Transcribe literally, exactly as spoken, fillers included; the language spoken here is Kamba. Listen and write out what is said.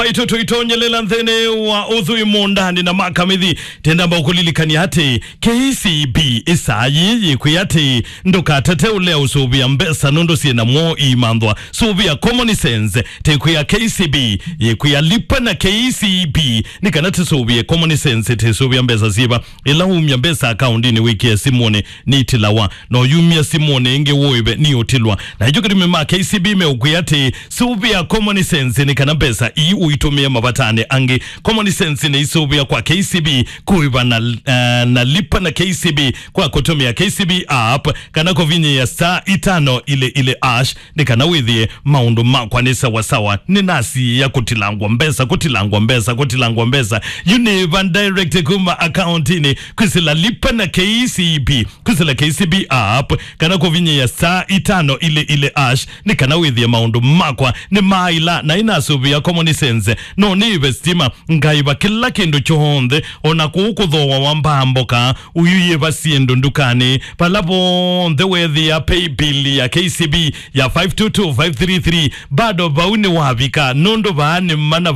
Aitũ tũitonyelela nthĩnĩ wa ũthũi mũũndanĩ na makamithi, tendamba ũkũlilikania atĩ K C B ĩsaa yĩĩ yĩkwĩa atĩ ndũkatate ũlea ũsũvĩa mbesa nũndũ syĩ na mwoo iimanthwa. Sũvĩa common sense, tĩkwĩa K C B, yĩkwĩa lipa na K C B, nĩ kana tĩsũvĩe common sense, tĩsũvĩa mbesa syĩva. Ĩla umya mbesa akaundinĩ wĩkĩe simũnĩ, nitilawa. No yumya simũnĩ ĩngĩ wũĩve, niũtilwa. Na ĩkyo kĩtumi ma K C B meũkwĩa atĩ sũvĩa common sense nĩ kana mbesa ii ũitũmĩe mavatanĩ angĩ. Common sense nĩ isũvĩa kwa K C B kũĩva na, eh, na lipa na K C B kwa kũtũmĩa K C B app kana kũvinyĩĩa star itano ile ile ash nĩ kana wĩthĩe maũndũ makwa nĩ sawasawa. Nĩnasiĩa kũtilangwa mbesa, kũtilangwa mbesa, kũtilangwa mbesa. Yu nĩva direct kuma akauntinĩ kwĩsĩla lipa na K C B, kwĩsĩla K C B app, kana kũvinyĩĩa star itano ile ile ash nĩ kana wĩthĩe maũndũ makwa nĩ maila na inasũvĩa common sense. No nĩĩve stima, ngaĩva kĩla kĩndũ kyonthe, o na kũu kũthooa wa mbaa mboka, ũyũyĩva syĩndũ ndukanĩ, vala vonthe weethĩa pay bill ya K C B ya five two two five three three, bado vau nĩwavika, nũndũ vaa nĩ mana